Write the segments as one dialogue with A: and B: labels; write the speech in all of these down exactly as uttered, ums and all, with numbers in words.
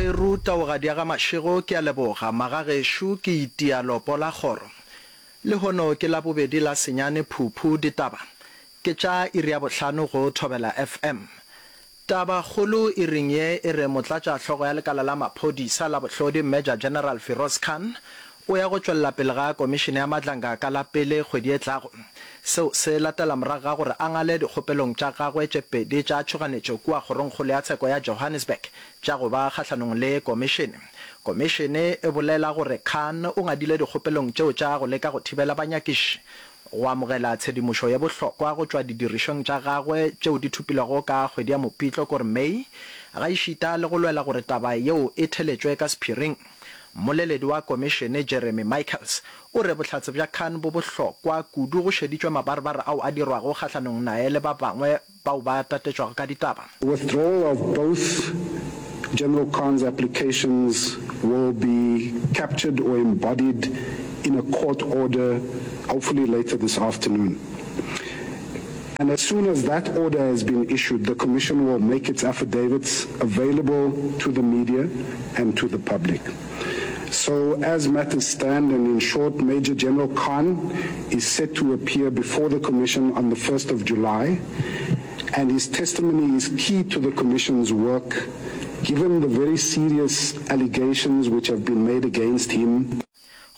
A: Magweru, Taugadi ya ga Mashego, ke a leboga. Magagešo, ke itia lopo la kgoro. Lehono ke Labobedi la senyane Phuphu, ditaba ke tša iri ya bohlano go Thobela F M. Tabakgolo iring ye e re motlatšahlogo ya lekala la maphodisa la bohlodi Major General Firoz Khan o ya go tšwelela pele ga komišene ya Madlanga ka la pele kgwedi e tlago. Seo se latela morago ga gore a ngale dikgopelong tša gagwe tše pedi tša tšhoganetšo kua Kgorongkgolo ya Tsheko ya Johannesburg tša go ba kgahlanong le komišene. Komišene e bolela gore Khan o ngadile dikgopelong tšeo tša go leka go thibela banyakiši go amogela tshedimošo ye bohlokwa go tšwa didirišweng tša gagwe tšeo di thopilwego ka kgwedi ya Mopitlo kore May, gaešita le go lwela gore taba yeo e theletšwe ka sephiring. Mmoleledi wa komišene Jeremy Michaels o re bohlatse bja Khan bo bohlokwa kudu go šeditšwe mabarebare ao a dirwago kgahlanong naye le ba bangwe bao ba tatetšwago ka ditaba.
B: Withdrawal of both General Khan's applications will be captured or embodied in a court order hopefully later this afternoon. And as soon as that order has been issued, the commission will make its affidavits available to the media and to the public. So as matters stand, and in short, Major General Khan is set to appear before the commission on the first of July, and his testimony is key to the commission's work, given the very serious allegations which have been made against him.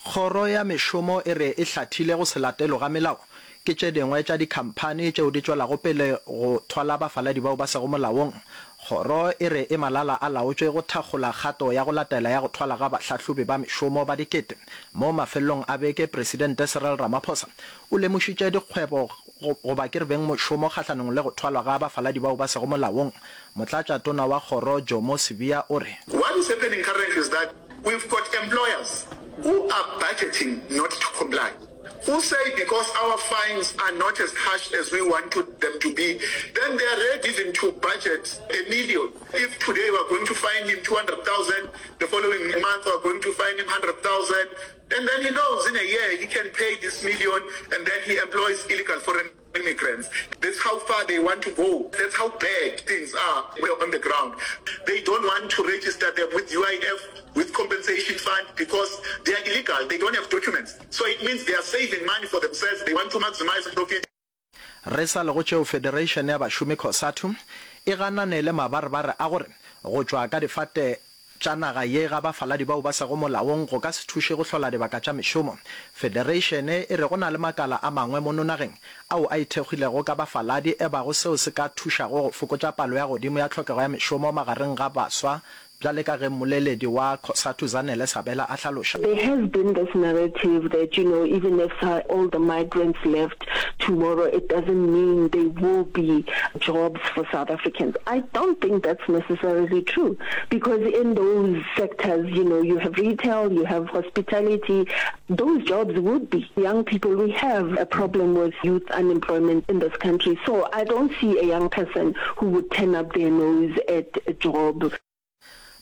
A: Kgoro ya Mešomo e re e hlathile go se latelwe ga melao ke tše dingwe tša dikhamphani tšeo di tšwelago pele go thwala bafaladi bao ba sego molaong. Kgoro e re e malala a laotšwe go thakgola kgato ya go latela ya go thwala ga bahlahlobi ba mešomo ba dikete. Mo mafelelong a beke, Presidente Cyril Ramaphosa o lemošitše dikgwebo goba ke re bengmošomo kgahlanong le go thwalwa ga bafaladi bao ba sego molaong. Motlatšatona wa kgoro Jomo Sibiya o re.
C: What is happening currently is that we've got employers who are budgeting not to comply, who say because our fines are not as harsh as we want to, them to be, then they are ready even to budget a million. If today we are going to fine him two hundred thousand, the following month we are going to fine him hundred thousand, and then he knows in a year he can pay this million, and then he employs illegal foreign immigrants. That's how far they want to go. That's how bad things are on the ground. They don't want to register them with U I F, with compensation fund, because they are illegal. They don't have documents. So it means they are saving money for themselves. They want to maximize profit.
A: Re sa le go tšeo, Federation ya Bašomi COSATU e ganane le mabarebare a gore go tšwa ka difate tša naga ye ga bafaladi bao ba sego molaong go ka se thuše go hlola dibaka tša mešomo. Federation e re go na le makala a mangwe mono nageng ao a ithekgilego ka bafaladi ebago seo se ka thušago go fokotša palo ya godimo ya tlhokego ya mešomo magareng ga baswa bjale ka ge mmoleledi wa COSATU Zanele Sabela a hlaloša.
D: There has been this narrative that, you know, even if all the migrants left tomorrow, it doesn't mean there will be jobs for South Africans. I don't think that's necessarily true, because in those sectors, you know, you have retail, you have hospitality, those jobs would be young people. We have a problem with youth unemployment in this country, so I don't see a young person who would turn up their nose at a job.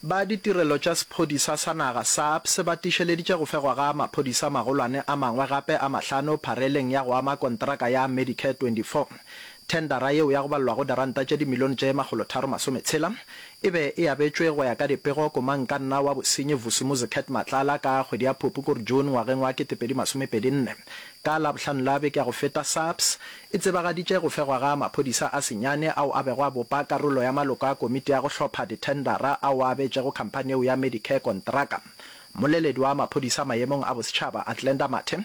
A: Ba ditirelo tša sephodisa sa naga, SAPS, ba tiišeleditše go fegwa ga maphodisa magolwane a mangwe gape a mahlano phareleng ya go ama kontraka ya Medicare twenty four. Thendara yeo ya go balelwa go diranta tše dimilione tše makgolotharo masometshela e be e abetšwe go ya ka dipego komangkanna wa bosenyi Vusumuzi Cat Matlala ka kgwedi ya Phupu kore June ngwageng wa ketepedi masomepedi nne. Ka Labohlano la beke ya go feta SAPS e tsebagaditše go fegwa ga maphodisa a senyane ao a bego a bopa karolo ya maloko a komiti ya go hlopha dithendara ao a abetšego khamphani yeo ya Medicare kontraka. Mmoleledi wa maphodisa maemong a bosetšhaba Athlenda Mathe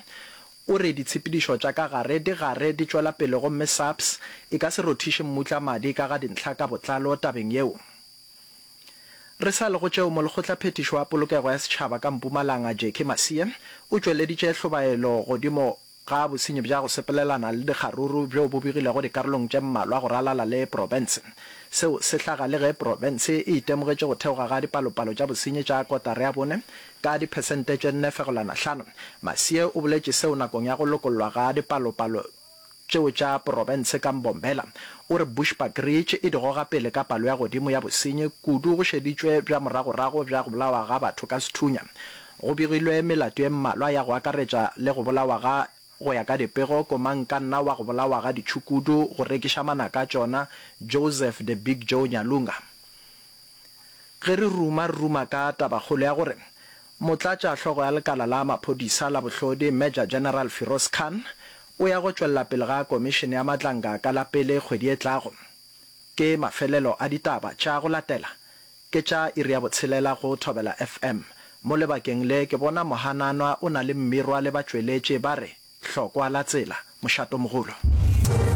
A: o re ditshepedišo tša ka gare di gare di tšwela pele gomme SAPS e ka se rothiše mmutla madi ka ga dintlha ka botlalo tabeng yeo. Re sa le go tšeo, Molekgotlaphethiši wa Polokego ya Setšhaba ka Mpumalanga Jackie Masie o tšweleditše hlobaelo godimo ga bosenyi bja go sepelelana le dikgaruru bjo bo begilego dikarolong tše mmalwa go ralala le profense. Seo se hlaga le ge profense e itemogetše go theoga ga dipalopalo tša bosenyi tša kotara ya bone ka diphesente tše nne fegelwana hlano. Masie o boletše seo nakong ya go lokollwa ga dipalopalo tšeo tša profense ka Mbombela. O re Bushbuckridge e di goga pele ka palo ya godimo ya bosenyi, kudu go šeditšwe bja moragorago bja go bolawa ga batho ka sethunya. Go begilwe melato ye mmalwa ya go akaretša le go bolawa ga, go ya ka dipego, komangkanna wa go bolawa ga ditšhukudu go rekiša manaka a tšona, Joseph The Big Joe Nyalunga. Ge re ruma, re ruma ka tabakgolo ya gore Motlatša hlogo ya lekala la maphodisa la bohlodi Major General Firoz Khan o ya go tšwelela pele ga komišene ya Madlanga ka la pele kgwedi e tlago. Ke mafelelo a ditaba tša go latela ke tša iri ya botshelela go Thobela FM. Mo lebakeng le ke bona Mohananwa o na le Mmirwa le batšweletše ba re, Hlokwa la tsela. Mošatomogolo.